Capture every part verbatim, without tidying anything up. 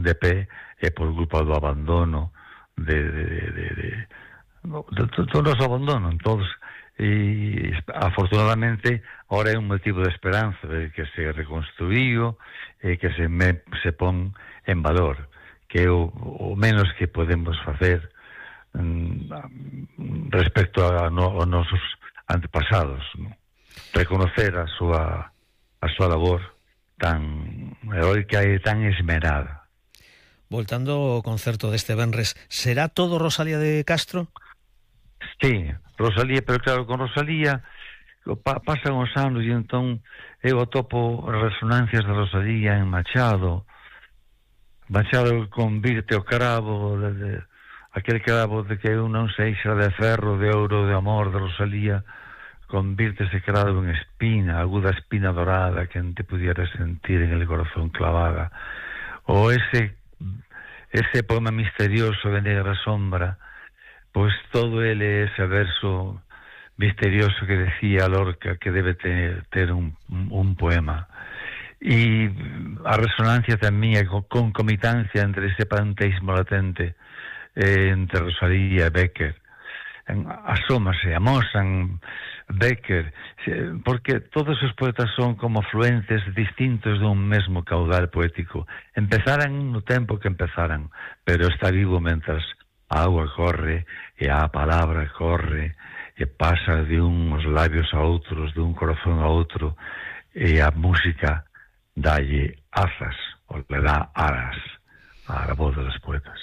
pon de pé é por culpa do abandono de, de, de, de, de, de, de todos abandono todos, e afortunadamente ahora é un motivo de esperanza de que se reconstruíu e que se, me, se pon en valor, que é o, o menos que podemos facer mm, respecto a, no, a nosos antepasados, ¿no? Reconocer a súa a súa labor tan heroica e tan esmerada. Voltando ao concerto deste venres, será todo Rosalía de Castro? Sí, Rosalía, pero claro, con Rosalía pa, pasan os anos e entón eu atopo resonancias de Rosalía en Machado. Machado convirte o cravo de, de, aquel cravo de que eu non sei xa de ferro, de ouro, de amor de Rosalía, convirte ese cravo en espina, aguda espina dorada que non te pudiera sentir en el corazón clavada. O ese ese poema misterioso de Negra Sombra, pois todo ele ese verso misterioso que decía Lorca que debe ter, ter un, un poema. E a resonancia tamén, a concomitancia entre ese panteísmo latente eh, entre Rosalía e Becker, asómase, amosan Becker, porque todos os poetas son como fluentes distintos dun mesmo caudal poético. Empezaran no tempo que empezaran, pero está vivo mentras a auga corre e a palabra corre e pasa de uns labios a outros, de un corazón a outro, e a música dalle azas, ou le dá alas a la voz dos poetas.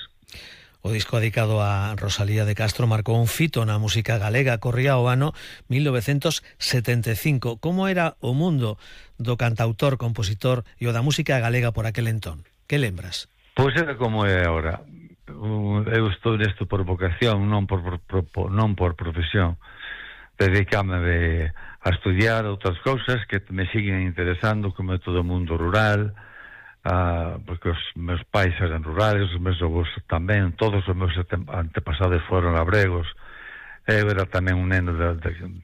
O disco dedicado a Rosalía de Castro marcou un fito na música galega, corría o ano mil novecentos setenta e cinco. Como era o mundo do cantautor, compositor e o da música galega por aquel entón? Que lembras? Pois era como é agora. Eu estou nesto por vocación, non por, por, por, non por profesión. Dedicame a estudiar outras cousas que me siguen interesando, como é todo o mundo rural, Uh, porque os meus pais eran rurales, os meus avós tamén, todos os meus antepasados foron labregos. Eu era tamén un neno de, de,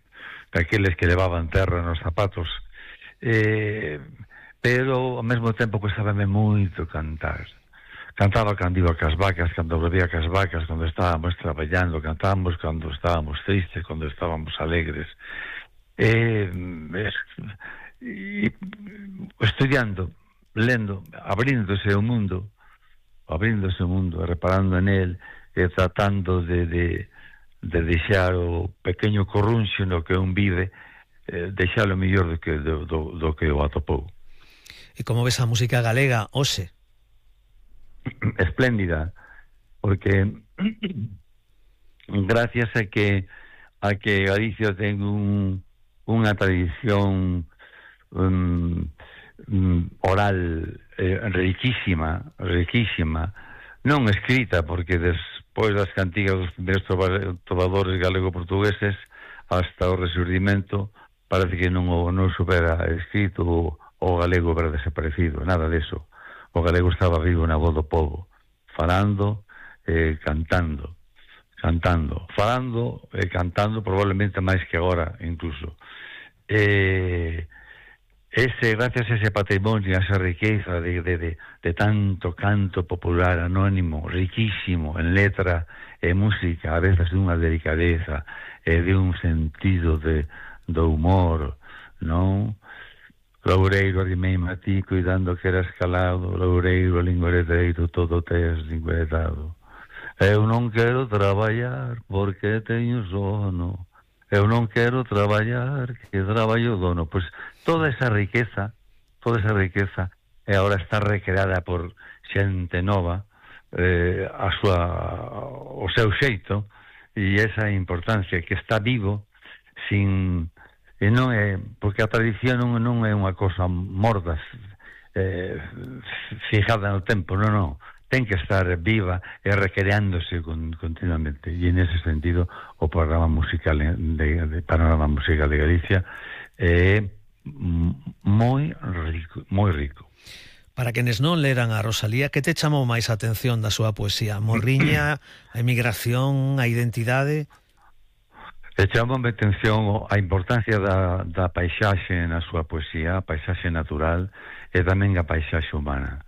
daqueles que levaban terra nos zapatos, eh, pero ao mesmo tempo custábame moito cantar. Cantaba cando iba cas vacas, cando volvía cas vacas, cando estábamos traballando, cantábamos cando estábamos tristes, cando estábamos alegres, eh, eh, estudiando, lendo, abríndose o mundo, abríndose o mundo, reparando en él, e tratando de, de, de deixar o pequeño corrunxo no que un vive, eh, deixalo mellor do que, do, do, do que o atopou. E como ves a música galega, hoxe? Espléndida, porque gracias a que a que Galicia ten un, unha tradición um, oral eh, riquísima, riquísima, non escrita, porque despois das cantigas dos primeiros trovadores galego-portugueses hasta o resurdimento parece que non o non supera escrito o, o galego era desaparecido, nada deso. O galego estaba vivo na voz do povo, falando e eh, cantando, cantando, falando e eh, cantando probablemente máis que agora incluso. Eh, Ese, gracias a ese patrimonio, a esa riqueza de, de, de, de tanto canto popular anónimo, riquísimo en letra e música, a veces de unha delicadeza e de un sentido de, do humor, non? Loureiro, arrimei-me a ti, cuidando que eras calado, Loureiro, lingueredeiro, todo tes lingueredado. Eu non quero traballar porque teño sono, eu non quero traballar, que traballo dono. Pois toda esa riqueza, toda esa riqueza, e agora está recreada por xente nova, eh, a súa, o seu xeito, e esa importancia que está vivo, sin, e non é, porque a tradición non, non é unha cosa morda, eh, fijada no tempo, non, non. Ten que estar viva e recreándose con, continuamente, e en ese sentido o programa musical de, de Panorama Musical de Galicia é moi rico, moi rico. Para quenes non leran a Rosalía, que te chamou máis a atención da súa poesía? Morriña, a emigración, a identidade? E chamou a atención a importancia da, da paisaxe na súa poesía, a paisaxe natural e tamén a paisaxe humana.